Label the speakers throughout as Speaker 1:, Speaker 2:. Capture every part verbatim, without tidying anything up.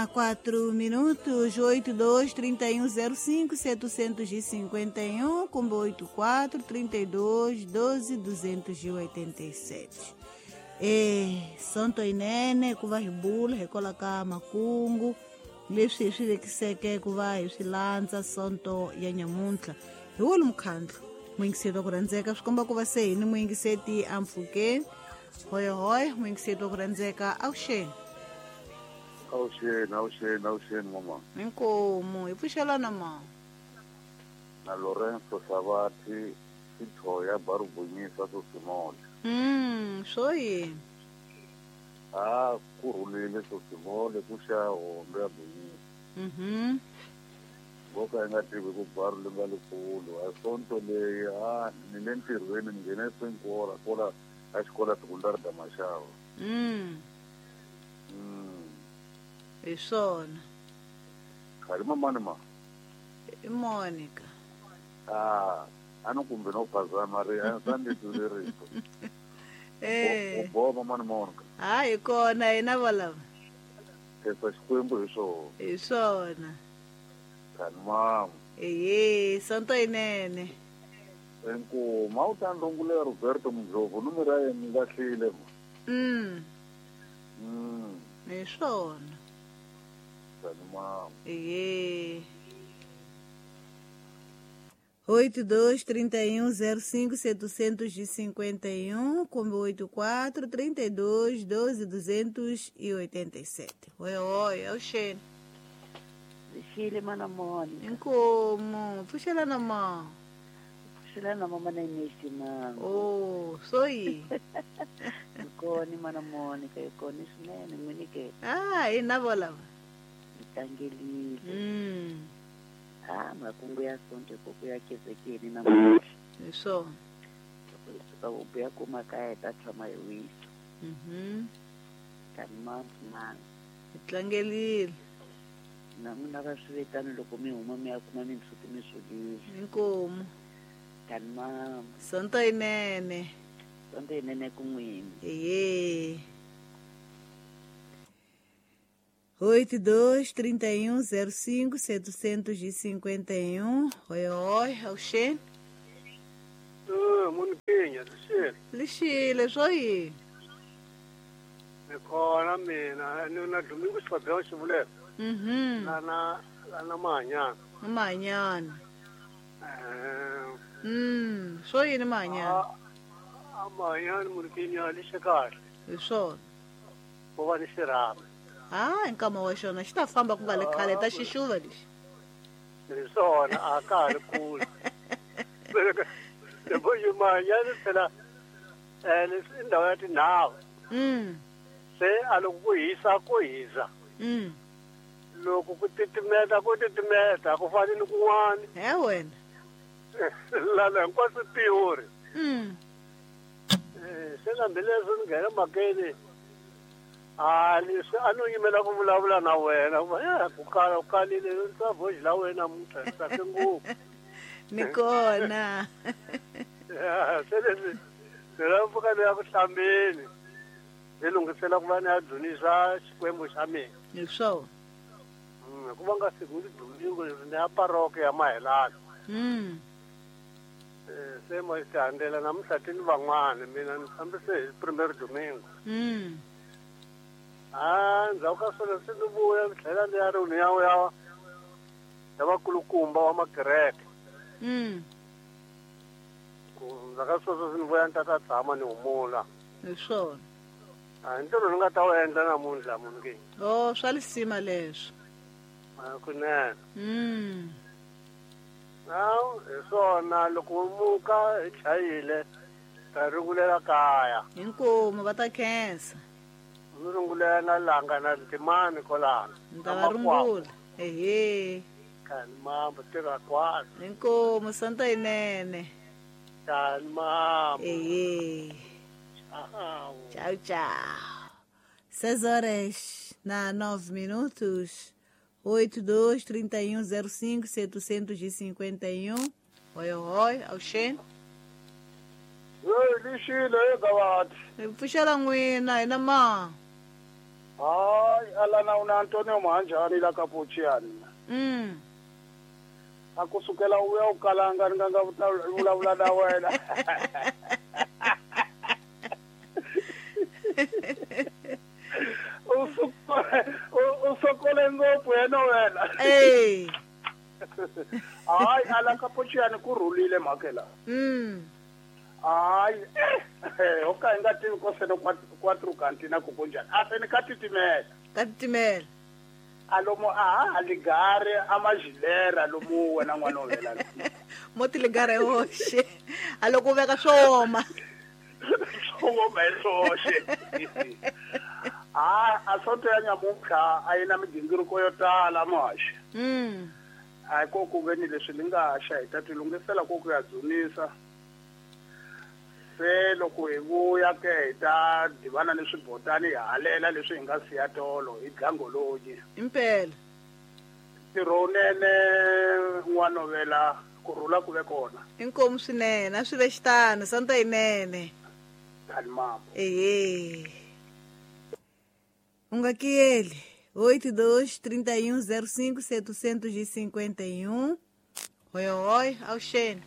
Speaker 1: na quatro minutos, oito dois, trinta e um zero cinco, setecentos e cinquenta e um, com oito quatro, trinta e dois, doze, duzentos e oitenta e sete. E Santo Inene, kuva hibula, rekola ka makungu, leswi hi swi vekiseke ku va hi swi landza Sonto ya nyamuntlha. Hi wona mukhandlu, muyingiseti wa ku rhandzeka, swi komba ku va se hi ni muyingiseti a mpfhukeni. Hoy hoy, muyingiseti wa ku rhandzeka, avuxeni.
Speaker 2: Avuxeni, avuxeni, avuxeni mama.
Speaker 1: Inkomu, hi pfuxelana ma.
Speaker 2: Na Lorenzo Savati, Sithoya Barubunyisa Sosimole.
Speaker 1: Mm, swo yini?
Speaker 2: Ah, ku rhulile Sosimole ku xa hombe ya Bunyisa.
Speaker 1: Mhm.
Speaker 2: Nkoka yi nga tivi ku baru li nga likulu. A Sonto leyi a ni le ntirhweni ni nghene swinkola kola a xikola sekundari da Maxava.
Speaker 1: Mm.
Speaker 2: Mm.
Speaker 1: Hi swona.
Speaker 2: Khali mamani ma?
Speaker 1: I Monica.
Speaker 2: Ah, a ni kumbe no phazama ri a sa ndi twile rito.
Speaker 1: Eh.
Speaker 2: U boha mamani Monica.
Speaker 1: Ha hi kona hina valava.
Speaker 2: Khensa Xikwembu hi swona.
Speaker 1: Hi swona.
Speaker 2: Khali mama.
Speaker 1: Ehe, Sonto yinene.
Speaker 2: Inkomu, a wu ta ndlungula Roberto Mdlovu numero ya yena ni lahlile ma.
Speaker 1: Mm.
Speaker 2: Mm.
Speaker 1: Hi swona.
Speaker 2: Khali mama.
Speaker 1: Ehe. Oito dois, trinta e um, zero cinco, setecentos e cinquenta e um, como oito quatro, trinta e dois, doze, duzentos e oitenta e sete. Oi, oi, é o Xene.
Speaker 3: Xile mana Mônica.
Speaker 1: Inkomu, puxa lá na mão.
Speaker 3: Puxa lá na mão, mana Inês de Mango.
Speaker 1: Oh, sou aí.
Speaker 3: Ikoni mana Mônica, ikoni sinene, Monique.
Speaker 1: Ah, e na bola.
Speaker 3: Itangelile.
Speaker 1: Hum.
Speaker 3: Ah, makungu ya Sonto koko ya kezekeni na mama.
Speaker 1: Isso.
Speaker 3: Loko hi suka u buya kuma kaya hi ta tshama hi wisa.
Speaker 1: Mhm.
Speaker 3: Tani mama mama.
Speaker 1: Hi tlangelile.
Speaker 3: Na n'wina va swi vitana loko mi huma mi ya kuma mindzhuti mi swolile.
Speaker 1: Inkomu.
Speaker 3: Tani mama.
Speaker 1: Sonto yinene.
Speaker 3: Sonto yinene ku n'wina.
Speaker 1: Ehe. Oito dois, trinta e um, zero cinco, setecentos e cinquenta e um. Oi, oi, é o Xene.
Speaker 4: Ah, Moniquinha, Lixile.
Speaker 1: Lixile, swo yini?
Speaker 4: Ni kona mina, ni na Domingo Xifabelo Xivulelo.
Speaker 1: Mhm.
Speaker 4: Lana lana Mahanyana.
Speaker 1: Mahanyana.
Speaker 4: Eh.
Speaker 1: Mm, swo yini Mahanyana?
Speaker 4: A Mahanyana Moniquinha lixe kahle.
Speaker 1: Hi swona.
Speaker 4: Ku va ni xirhami.
Speaker 1: Ah, nkama wa xona xi ta famba ku nga le khale ta xixuva lexi.
Speaker 4: Hi swona a ka ha ri kule. Loko yi Mahanyana phela eh leswi i ndhawu ya tinhava.
Speaker 1: Mm.
Speaker 4: Se a loko ku hisa ku hisa.
Speaker 1: Mm.
Speaker 4: Loko ku titimeta ku titimeta ku fani ni kun'wana.
Speaker 1: He wena.
Speaker 4: Lana hinkwaswo theory.
Speaker 1: Mm.
Speaker 4: Eh, se hambileswi ni nghena makeni a leswi a no yimela ku vulavula na wena ku va ku kala ku kalile ni voice la wena namuntlha ni tsake ngopfu.
Speaker 1: Ni kona.
Speaker 4: Se leswi ni lava pfuka ni ya ku hlambeni ni lunghisela ku va ni ya dzunisa Xikwembu xa mina.
Speaker 1: Hi swona.
Speaker 4: Hikuva nga siku ni domingo leswi ni ya paroki ya Mahelana.
Speaker 1: Mm.
Speaker 4: Eh, se mo tihandzela namuntlha ti ni van'wana mina ni fambise hi primero domingo.
Speaker 1: Mm.
Speaker 4: Ah, ndzhaku ka swona se ni vuya ni tlhela ni ya ri ni ya ya ya vakulukumba wa makereke.
Speaker 1: Mm.
Speaker 4: Ku ndzhaku ka sweswo se ni vuya ni ta ta tshama ni humula.
Speaker 1: Hi swona.
Speaker 4: A ntirho ni nga ta wu endla namuntlha munhu ke.
Speaker 1: Oh, swa lisima leswo.
Speaker 4: A kunene.
Speaker 1: Mm.
Speaker 4: Nawu hi swona loko u muka hi chayile ta rungulela kaya.
Speaker 1: Inkomu va ta khensa.
Speaker 4: Ni rungulela na langa na timani kolana.
Speaker 1: Ni ta va rungula. Ehe.
Speaker 4: Kani mambo tirha kwala.
Speaker 1: Inkomu Sonto yinene.
Speaker 4: Kani mambo.
Speaker 1: Ehe.
Speaker 4: Tchau.
Speaker 1: Tchau, tchau. Seis horas na nove minutos. Oito dois, trinta e um, zero cinco, setecentos e cinquenta e um. Oi, oi, Alxene.
Speaker 2: Oi, Lixile, e gavati.
Speaker 1: Pfuxela n'wina hina ma.
Speaker 4: Hayi alana una Antonio Manjani la Capucciani.
Speaker 1: Mm.
Speaker 4: A kusukela uya ukalanga nganga vulavula na wena. Usokole ngopfu yena wena.
Speaker 1: Eh.
Speaker 4: Hayi ala Capucciani ku rhulile mhaka la.
Speaker 1: Mm.
Speaker 4: Hayi eh okay nga tivi ko seno quattro kantina ku kunjani. A sene ka titimela.
Speaker 1: Ka titimela.
Speaker 4: Alomo a ligare amajilera lomu wena n'wana wa wena.
Speaker 1: Moti ligare hoxe. Aloko veka swoma.
Speaker 4: Swoma hoxe. Ah, asonto ya nyamuka a yina migingiriko yo tala muhaxi.
Speaker 1: Mm.
Speaker 4: A ko ku veni leswi li nga xa hi ta tilunghisela ku ku ya dzunisa. Se loko hi vuya ke hi ta divana ni swibotani hi halela leswi hi nga siya tolo hi dlangolonyi.
Speaker 1: Impela.
Speaker 4: Ntirho wunene n'wanovela ku rhula ku ve kona.
Speaker 1: Inkomu swinene a swi ve xitano sonto yinene.
Speaker 4: Kalimambo.
Speaker 1: Ehe. U nga kiyeli oito dois trinta e um zero cinco setecentos e cinquenta e um. Oi, oi, avuxeni.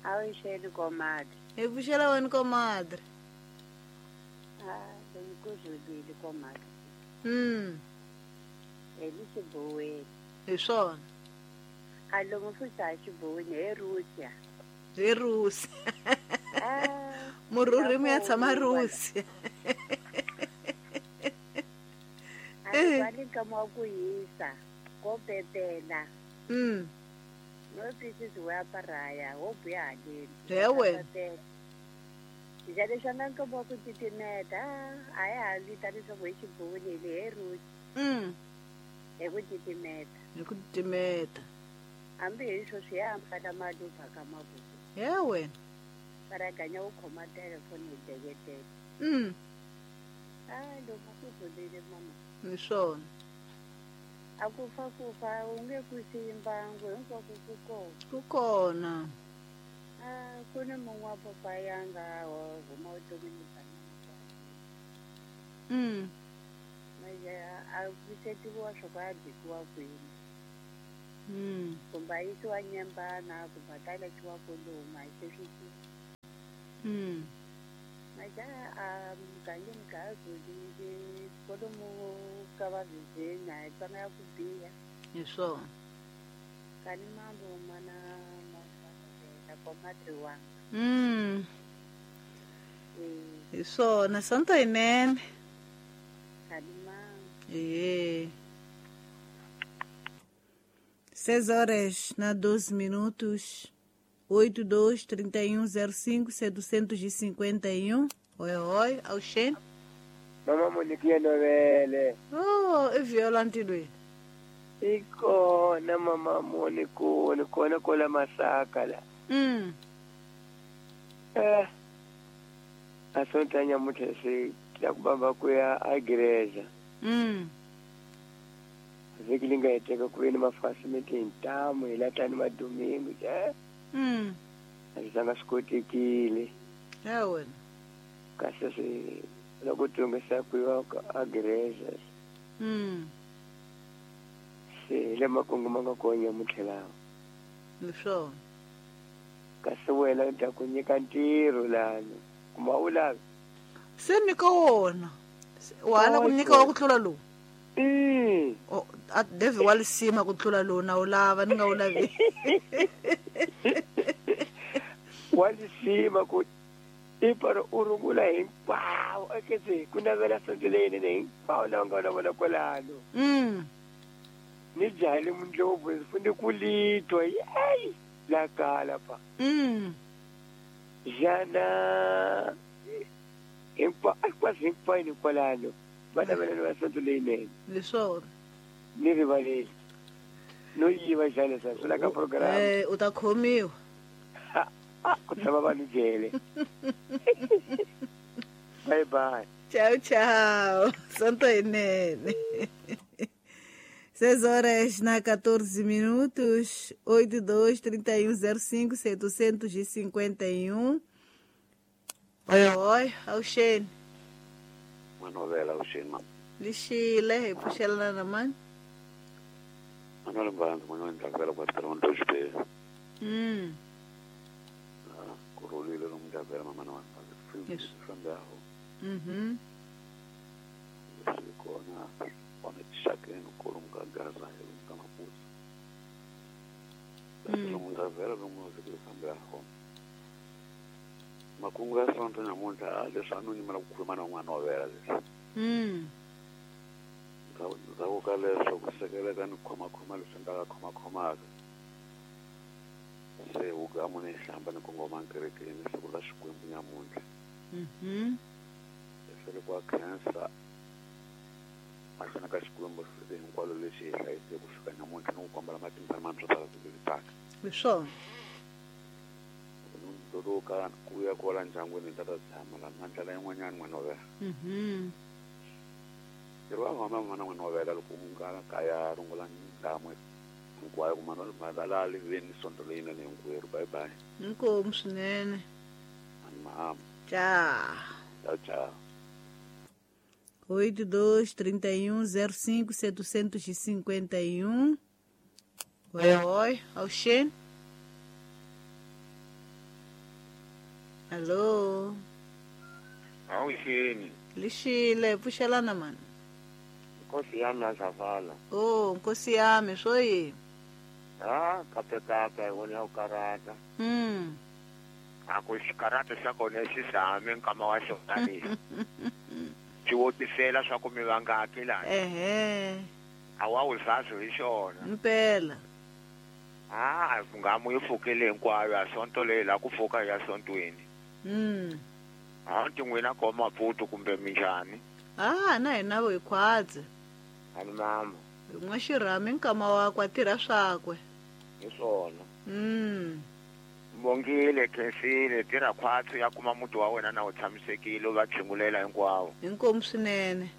Speaker 3: Avuxeni comadre.
Speaker 1: Hi pfuxela wena comadre.
Speaker 3: Ah, ngikuzwile comadre.
Speaker 1: Mm.
Speaker 3: Elixiboweni.
Speaker 1: Hi swona.
Speaker 3: A lomu futhi a xiboweni hi Russia.
Speaker 1: Hi Russia.
Speaker 3: Ah,
Speaker 1: murhurhi ya tshama Russia.
Speaker 3: A va ka mo ku hisa ko pepela.
Speaker 1: Mm.
Speaker 3: No pieces wa paraya ho buya haleni.
Speaker 1: He wena.
Speaker 3: Njalo xana nka mo ku titimeta a ya ha vitani swa hi xiboweni hi Russia.
Speaker 1: Mm.
Speaker 3: Hi ku titimeta.
Speaker 1: Hi ku titimeta.
Speaker 3: Hambi hi swo swi ya ambala maluva ka mavoko.
Speaker 1: He wena.
Speaker 3: Paraganya u khoma telefoni hi deketela.
Speaker 1: Mm.
Speaker 3: Ah, loko ku rhulile mama.
Speaker 1: Hi swona.
Speaker 3: A ku fa ku fa u nge ku siyi mbangu hinkwako ku kona.
Speaker 1: Ku kona.
Speaker 3: Ah, ku ni mun'we wa papa ya nga huma vuton'wini bya mina.
Speaker 1: Mm.
Speaker 3: Manje a pfuxetiwa swo ku a bikiwa kwini.
Speaker 1: Mm.
Speaker 3: Kumbe a yisiwa nyembana kumbe a ta laxiwa kwalomu a hi swi tivi.
Speaker 1: Mm.
Speaker 3: Manje a mugangeni ka ha rhulile kwalomu ka va vhizeni a hi twanga ya ku biha.
Speaker 1: Hi swona.
Speaker 3: Kani mambo mana mana comadre wanga.
Speaker 1: Mm.
Speaker 3: Eh.
Speaker 1: Hi swona sonto yinene.
Speaker 3: Kani mambo.
Speaker 1: Eh. Seis horas na doze minutos. Oito dois trinta e um zero cinco setecentos e cinquenta e um. Oi, oi, avuxeni.
Speaker 5: Mama Monique Novele.
Speaker 1: Oh, i viola ntilweni.
Speaker 5: Ikona mama Monique, kona kola masaka la.
Speaker 1: Mm.
Speaker 5: Eh. Asonta nyamutlha se la ku bamba ku ya agreza.
Speaker 1: Mm.
Speaker 5: Vhiki li nga heteka ku ve ni mafasi hi ntamu hi latani madomingo eh.
Speaker 1: Mm.
Speaker 5: A swi zanga swi kotekile.
Speaker 1: Ya wena.
Speaker 5: Kasi swi loko tungisa ku yiwa agreza.
Speaker 1: Mm.
Speaker 5: Se hi le makungu ma nga kona nyamutlha lawa.
Speaker 1: Hi swona.
Speaker 5: Kasi wena ni ta ku nyika ntirho lani kuma u lavi.
Speaker 1: Se nyika wona. Wa la ku nyika wa ku tlula lowu.
Speaker 5: Mm.
Speaker 1: Oh, a Devi wa lisima ku tlula lowu na u lava ni nga u lavi.
Speaker 5: Wa lisima ku iparo u rungula hinkwawo eketse ku navela sonto leyinene hinkwawo lawa nga na vona kwalano.
Speaker 1: Mm.
Speaker 5: Ni jahile mundlopfu ndzi fanele ku litwa yeyi la kala pa.
Speaker 1: Mm.
Speaker 5: Jana hinkwa hinkwaswo hinkwenu kwalano va navelana va sonto leyinene.
Speaker 1: Hi swona.
Speaker 5: Ni rivaleli no yiva xana swa la ka program.
Speaker 1: Eh, u ta khomiwa.
Speaker 5: Ku tshama vanhu jele. Bye bye.
Speaker 1: Tchau, tchau. Sonto yinene. Seis horas na quatorze minutos, oito dois trinta e um zero cinco setecentos e cinquenta e um. Oi, oi, avuxeni.
Speaker 2: Manovela uxini mama.
Speaker 1: Lixile hi pfuxelana na mani?
Speaker 2: Manuel Mbanzi n'winyi wa Ndlavela kwa Toronto Xibeni.
Speaker 1: Mm.
Speaker 2: Ku rhulile lomu Ndlavela mama na vanhu
Speaker 1: Yes.
Speaker 2: fambaho.
Speaker 1: Mhm.
Speaker 2: Leswi kona kona tixakeni kolomu ka Gaza hi lomu ka Maputo.
Speaker 1: Mm.
Speaker 2: Lomu Ndlavela lomu vhiki fambaho. Makungu ya Sonto namuntlha leswi a no nyimela ku khuluma na n'wana wa vela leswi.
Speaker 1: Mm.
Speaker 2: Ndzhaku ka leswo ku sekeleka ni khomakhoma leswi nga ka khomakhomaka. Se wugamu ni hlamba ni kongoma kerekeni siku ra Xikwembu nyamuntlha.
Speaker 1: Mhm.
Speaker 2: Leswi ku khensa mahlweni ka Xikwembu siku hinkwalo lexi hi hlayiseke ku fika nyamuntlha ni ku kombela matimba mantshwa ta vhiki leri taka.
Speaker 1: Hi swona.
Speaker 2: Doloka ku ya kwala ndyangwini ta ta tshama la na ndlela yin'wanyana n'wana wa vela.
Speaker 1: Mhm.
Speaker 2: Ntirho wa mama n'wana n'wana wa vela loko u nga kaya rungula ndamu hinkwayo ku mana madala liveni sonto leyinene hinkwerhu. Bye bye.
Speaker 1: Inkomu swinene.
Speaker 2: Mama.
Speaker 1: Tchau.
Speaker 2: Tchau, tchau.
Speaker 1: oito dois trinta e um zero cinco setecentos e cinquenta e um. Oi, oi, Alxene. Alô.
Speaker 6: Awuxini.
Speaker 1: Lixile, pfuxelana mani.
Speaker 6: Nkosi yami azavala.
Speaker 1: Oh, nkosi yami, swo yini?
Speaker 6: Ah, kape kape wona u karata.
Speaker 1: Mm.
Speaker 6: A ku xikarata xa kona xi same nkama wa xona lexi. Xi wotisela swa ku mi vangaki lani.
Speaker 1: Ehe.
Speaker 6: A wa wu zazi hi xona.
Speaker 1: Mpela.
Speaker 6: Ah, nga mu yi pfukile hinkwayo a sonto leyi la ku pfuka ya sontweni.
Speaker 1: Mm.
Speaker 6: A nti n'wina ko Maputo kumbe minjhani?
Speaker 1: Ah, na hina vo hi khwatsi.
Speaker 6: Ani mama.
Speaker 1: N'wa xirhami nkama wakwe a tirha swakwe.
Speaker 6: Hi swona.
Speaker 1: Mm.
Speaker 6: Bongile khensile tirha khwatsi ya kuma muti wa wena na wu tshamisekile u va tshungulela hinkwawo.
Speaker 1: Inkomu swinene.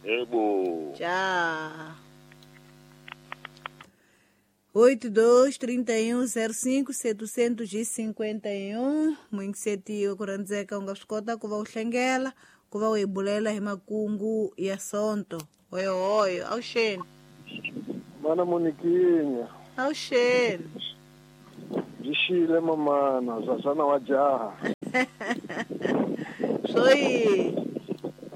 Speaker 6: Yebo.
Speaker 1: Tchau. oito dois trinta e um zero cinco setecentos e cinquenta e um. Muingisetiwa ku rhandzeka u nga swi kota ku va u hlengela ku va u hi bulela hi makungu ya sonto. Hoyohoyo, awuxeni.
Speaker 7: Mana Moniquinha.
Speaker 1: Awuxeni.
Speaker 7: Lixile mamana, zazana wa jaha.
Speaker 1: Swo yini?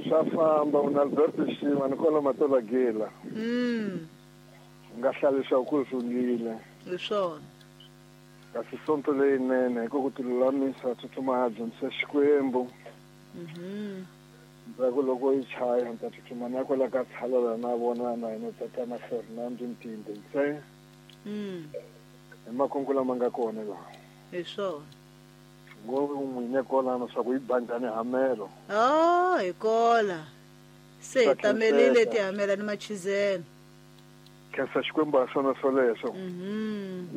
Speaker 7: Swa famba una Alberto Xima ni kwala Matola Gela.
Speaker 1: Mm.
Speaker 7: Nga hlalisa ku rhungile.
Speaker 1: Hi swona.
Speaker 7: Kasi sonto leyinene hi ku ku tilulamisa tsutsuma ya dyondzisa Xikwembu.
Speaker 1: Mhm.
Speaker 7: Ndzhaku loko yi chaya ni ta tsutsuma na kwala ka tshalela na vona na yena tatana Fernando Ntinde ntsena.
Speaker 1: Mm.
Speaker 7: Hi makungu lama nga kona laha.
Speaker 1: Hi swona.
Speaker 7: Ngo n'wine kolano swa ku yi ba njhani hamelo.
Speaker 1: Oh, hi kola. Se hi tamelile tihamela ni machizelo.
Speaker 7: Khensa Xikwembu ha swona swoleswo.
Speaker 1: Mhm.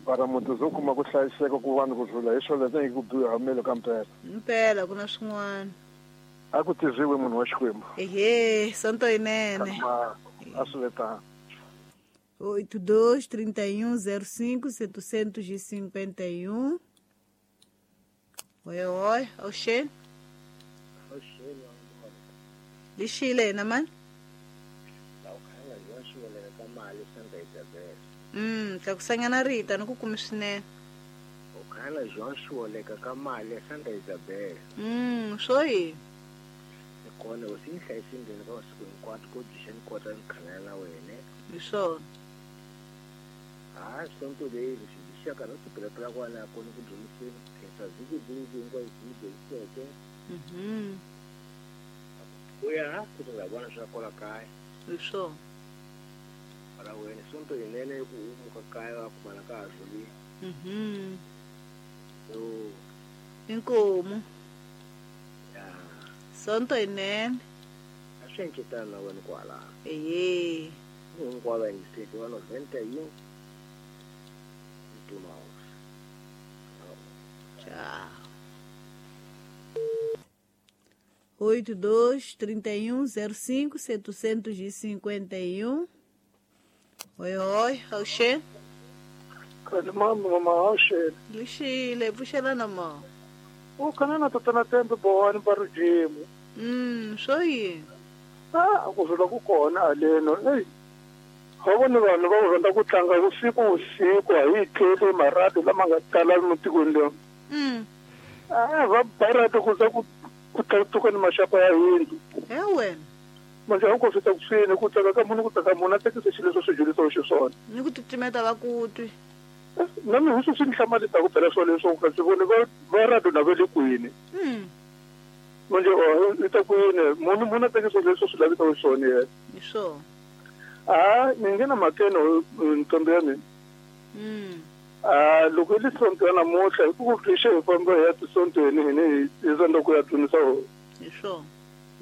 Speaker 7: Para muti zo kuma ku hlayiseka ku vanhu ku rhula hi swoleswo hi ku biwa hamelo ka mpela.
Speaker 1: Mpela ku na swin'wana.
Speaker 7: A ku tirhiwe munhu wa Xikwembu.
Speaker 1: Ehe, sonto yinene.
Speaker 7: A swi letana.
Speaker 1: oito dois trinta e um zero cinco setecentos e cinquenta e um. Oi, oi, Oxê.
Speaker 8: Oxê,
Speaker 1: Lixile na mani? Mm, ka kusanyana Rita ni ku kumi swinene.
Speaker 8: U khana João Xiwoleka ka mali Santa Isabel.
Speaker 1: Mm, swo yini?
Speaker 8: Ni kona u si hlayisi ndzeni ka masiku hinkwato ko dyixa ni kota ni khanela na wena.
Speaker 1: Hi swona.
Speaker 8: Ah, sonto leyi lexi dixaka no tipelepela kwala kona ku dyondziseni khensa vhiki vhiki hinkwayo yi dyondziseke.
Speaker 1: Mhm.
Speaker 8: Ku ya ku nga vona swa kwala kaya.
Speaker 1: Hi swona.
Speaker 8: Para wena sonto yinene ku umuka kaya wa kumana ka ha rhulile.
Speaker 1: Mhm.
Speaker 8: Yo.
Speaker 1: Inkomu.
Speaker 8: Ya.
Speaker 1: Sonto yinene.
Speaker 8: A swi encetana na wena kwala.
Speaker 1: Ehe.
Speaker 8: Hinkwavo va yingiseki va noventa yin'we. Ntuma.
Speaker 1: Tchau. oito dois trinta e um zero cinco setecentos e cinquenta e um. Oi, oi, Oxê.
Speaker 7: Kalimambo mama Oxê.
Speaker 1: Lixile, pfuxelana mama.
Speaker 7: U kana na tatana Tembe Bohani Barujimu.
Speaker 1: Mm, swo yini?
Speaker 7: Ah, ku vula ku kona haleno. Ey. Ha vona vanhu va rhandza ku tlanga vusiku vusiku a hi tleli marati lama nga tala mutikweni lowu.
Speaker 1: Mm.
Speaker 7: Ah, va barati ku za ku ku tlatuka ni maxaka ya yindlu.
Speaker 1: He wena.
Speaker 7: Manje a ku fika kusini ku tsaka ka munhu ku tsaka munhu a tekisa xilo leswi swi dyondzisiwa xiswona.
Speaker 1: Ni ku titimeta va ku twi.
Speaker 7: Na mina swi swi ni hlamarisa ku phela swona leswo ka swi voni va va rado na va le kwini.
Speaker 1: Mm.
Speaker 7: Manje o i ta kwini munhu munhu a tekisa leswi swi lavisa xiswona yena.
Speaker 1: Hi swona.
Speaker 7: Ah, ni nghena makene ntombi ya mina.
Speaker 1: Mm.
Speaker 7: Ah, loko i le sonto ya namuntlha hi ku ku hi famba hi ya tisontweni hina hi hi rhandza ku ya dyondzisa hosi.
Speaker 1: Hi swona.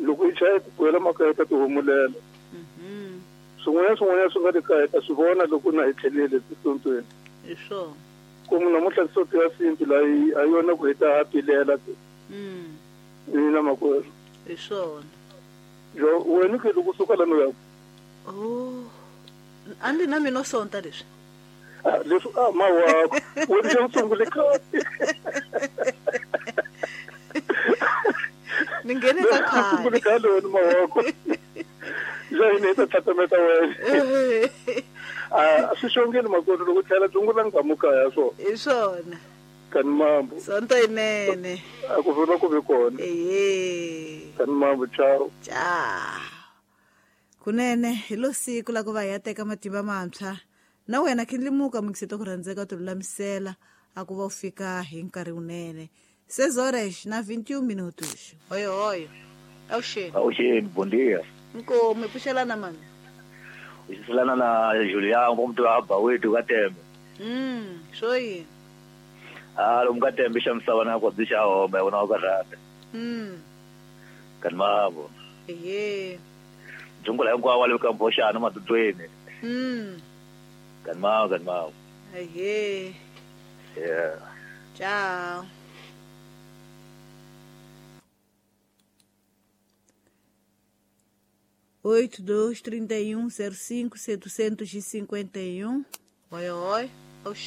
Speaker 7: Loko i chaya ku buwela makaya ta tihumulela.
Speaker 1: Mhm.
Speaker 7: Swin'wana swin'wana swi nga le kaya ta swi vona loko na hi tlhelele tisontweni.
Speaker 1: Hi swona.
Speaker 7: Ku munhu namuntlha sonto ya sintu la yi a yona ku hi ta pilela.
Speaker 1: Mm.
Speaker 7: Ni na makwerhu.
Speaker 1: Hi swona.
Speaker 7: Jo wena ke loko suka la no ya.
Speaker 1: Oh. Andi na mina sonta leswi.
Speaker 7: Ah, leswi ah mawa wena xa sungule khale.
Speaker 1: Ni nghene ka khale.
Speaker 7: Sungule khale wena mawako. Ja hina ta tatameta wena. Ah, swi xongeni makwerhu loko tlhela dzungula ngamuka ya so.
Speaker 1: Hi swona.
Speaker 7: Kani mambo.
Speaker 1: Sonto yinene.
Speaker 7: A ku vula ku ve kona.
Speaker 1: Ehe.
Speaker 7: Kani mambo, ciao.
Speaker 1: Ciao. Kunene hi lo siku la ku va hi ya teka matimba mantshwa na wena khindlimuka mukisito ku rhandzeka ti lulamisela a ku va u fika hi nkarhi wunene. Seis horas na vinte e um minutos. Hoyo hoyo. Awuxeni.
Speaker 9: Awuxeni, bom dia.
Speaker 1: Nkomo pfuxelana mani.
Speaker 9: Uxiselana na Julian kumntu hamba wethu kaTembe.
Speaker 1: Mm, swo yini?
Speaker 9: Ah, lo mkaTembe xa misava na kwa xa home wona wa karhata.
Speaker 1: Mm.
Speaker 9: Kani mavo.
Speaker 1: Ehe.
Speaker 9: Dzungula hinkwawo wa le ka Mboxana madudweni.
Speaker 1: Mm.
Speaker 9: Kani mavo, kani mavo.
Speaker 1: Ehe.
Speaker 9: Yeah.
Speaker 1: Ciao. Oito, dois, trinta e um, zero cinco, setecentos e cinquenta e um. Oi, oi. Oxê.